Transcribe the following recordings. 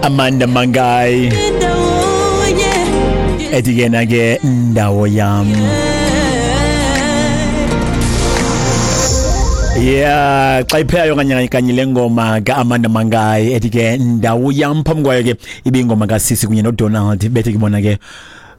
Amanda Mangai ethi ke na ke ndawo yam. Yeah, xa iphela kanye kanye le ngoma kaAmanda Mangai ethi ke ndawo yam, phambi kwayo ke ibingoma kaSisi kunye noDonald bethi ke bona ke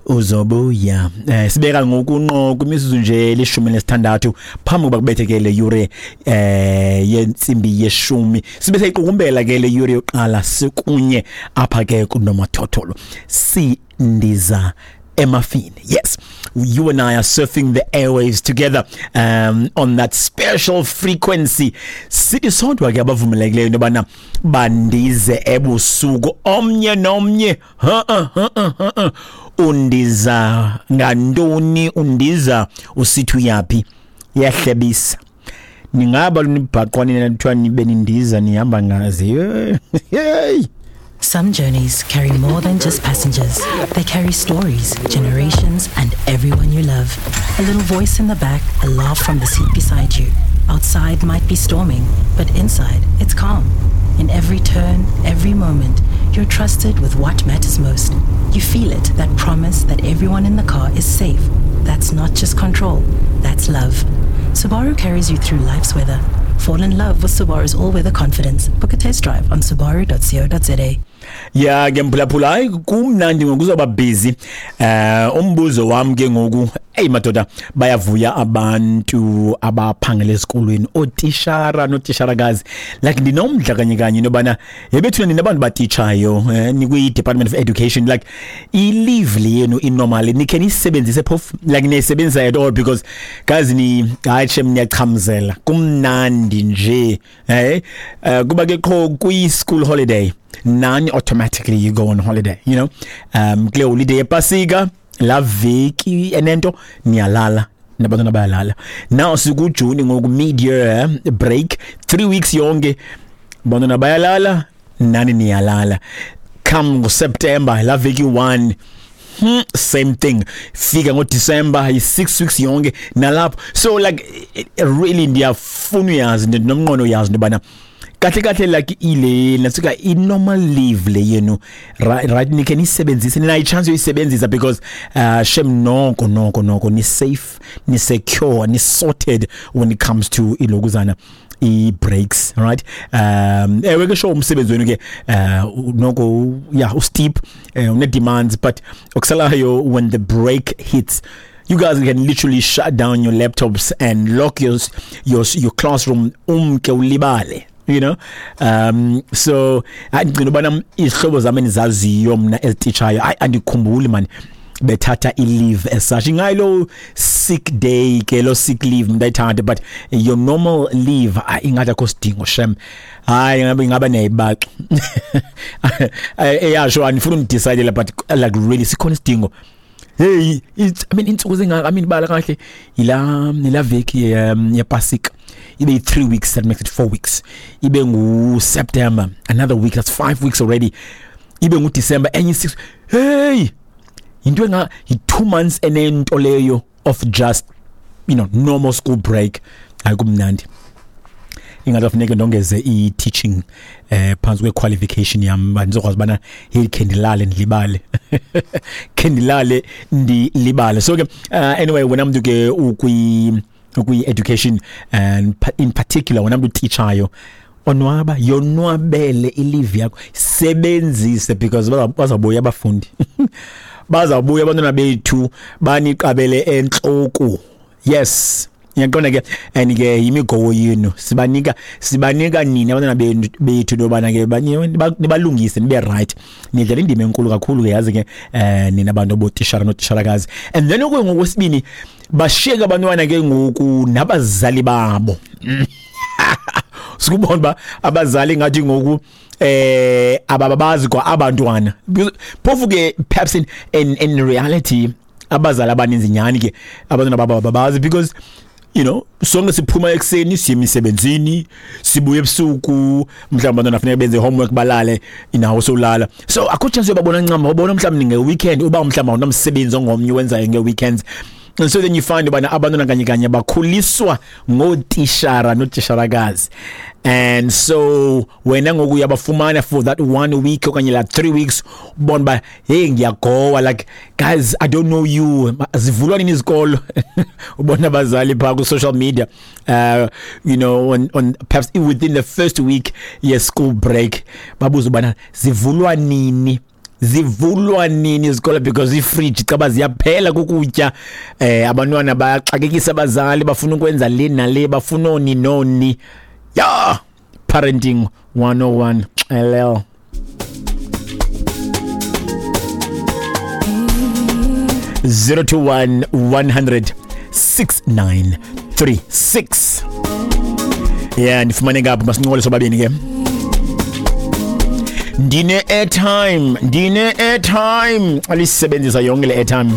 uzobuya. Sibeka ngoku nqo kwimizuzu nje 16 phambi kokuba kubethe ke le yure yentsimbi yeshumi, sibe seyiqukumbela ke le yure yokuqala sikunye apha ke kunomathotholo sindiza emafini. Yes, you and I are surfing the airwaves together on that special frequency. Sithi sodwa ke abavumelekileyo into yobana bandize ebusuku omnye nomnye. Ha ha ha ha. Undiza ngantoni? Undiza usithi uyaphi? Iyahlebisa. Ningaba lunibhaqwa nina kuthiwa nibe nindiza nihamba ngazi. Hey. Some journeys carry more than just passengers. They carry stories, generations, and everyone you love. A little voice in the back, a laugh from the seat beside you. Outside might be storming, but inside it's calm. In every turn, every moment, you're trusted with what matters most. You feel it, that promise that everyone in the car is safe. That's not just control, that's love. Subaru carries you through life's weather. Fall in love with Subaru's all-weather confidence. Book a test drive on subaru.co.za. Ya ke mphulaphula, hayi kumnandi ngoku uzoba busy. Umbuzo wami ke ngoku, hey madoda, bayavuya abantu abaphangela esikolweni, otishara notisharakazi. Like ndinomdla kanye kanye nobana yebethuna nina abantu batitshayo, nikwi Department of Education, like i leave le yenu inormal nikhe nisebenzise phofu, like niyisebenzisa at all? Because guys, ni hayi shem, niyachamzela, kumnandi nje. Kuba ke qho kwi school holiday nani automatically you go on holiday. Kule holiday yepasika, la veki enento niyalala nabantwana bayalala. Now sikujuni ngoku, mid year break, 3 weeks yonke bantwana bayalala, nani niyalala. Come ngoSeptember, la veki 1, same thing. Fika ngoDecember, yi-6 weeks yonke nalapho. So like really ndiyafuna uyazi, ndinomnqweno uyazi into yobana kahle kahle like ile nasuka i-normal leave le yenu, right, nikhe niyisebenzise, ninayo i-chance yoyisebenzisa? Because shem, noko noko noko ni safe, ni secure, ni sorted when it comes to ilokuzana i-breaks, right? Ewe ke sure, umsebenzi wenu ke noko yeah, usteep, une-demands, but okusalayo, when the break hits, you guys can literally shut down your laptops and lock your classroom, umke ulibale. So andigcina ubana izihlobo zami endizaziyo mna ezititshayo, hayi andikhumbuli man bethatha i-leave as such. Ingayilo sick day ke, lo sick leave mntu ayithathe, but your normal leave, hayi ingathi akho sidingo shem. Hayi ingaba niyayibaxa. Yeah, sure, andifuna undidecide, but like really, sikhona isidingo? Hey, it's, I mean, intsuku zingaka, I mean, bala kahle, ila veki yepasika ibe 3 weeks, that makes it 4 weeks. Ibe ngu September, another week, that's 5 weeks already. Ibe ngu December, enye 6. Hey, into enga yi 2 months enento leyo of just normal school break. Ayikumnandi, ingathi funeke ndongeze i-teaching phantsi kwe-qualification yam, uba ndizokwazi ubana hey, khe ndilale ndilibale, khe ndilale ndilibale. So ke anyway, wena mntu ke ukwi-education and in particular wena mntu utitshayo, onwaba, yonwabele i-leave yakho, sebenzise, because bazawubuya abafundi, bazawubuya abantwana bethu baniqabele entloko. Yes, ngiyaqonda ke, and ke yimigowo yenu, sibanika nini abantwana bethu into yobana ke nibalungise nibe right. Nidlala indima enkulu kakhulu ke, yazi ke, nina bantu bootishara nootisharakazi. And then okuye ngokwesibini, bashiyeke abantwana ke ngoku nabazali babo. Sikubona uba abazali ngathi ngoku ababazi kwa abantwana. Phofu ke perhaps in reality abazali abaninzi nyhani ke abantwana babo ababazi, because sonke siphuma ekuseni siye emisebenzini, sibuye ebusuku, mhlawumbi abantwana funeka benze homework, balale, inawo sowulala, so akho chance yobabona ncam. Ubona mhlawumbi nge-weekend, uba mhlawumbi awunamsebenzi ongomnye wenzayo nge-weekends. And so then you find ubana abantwana kanye kanye bakhuliswa ngootishara nootisharakazi, and so wena ngoku uyabafumana for that one week okanye la 3 weeks, ubona uba hey, ngiyagowa, like, "Guys, I don't know you. Zivulwa nini izikolo?" Ubona abazali phaa ku-social media, on perhaps within the first week ye-school break, babuza ubana zivulwa nini, zivulwa nini izikolo, because iifriji caba ziyaphela kukutya. Abantwana bayaxakekisa abazali, bafuna ukwenza le nale, bafuna oni noni. Ya, parenting 101 xelel. 021 100 6936. Yeah, ndifumaneka apho, masincokole sobabini ke. Ndine airtime, ndine airtime, alisebenzisa yonke le airtime.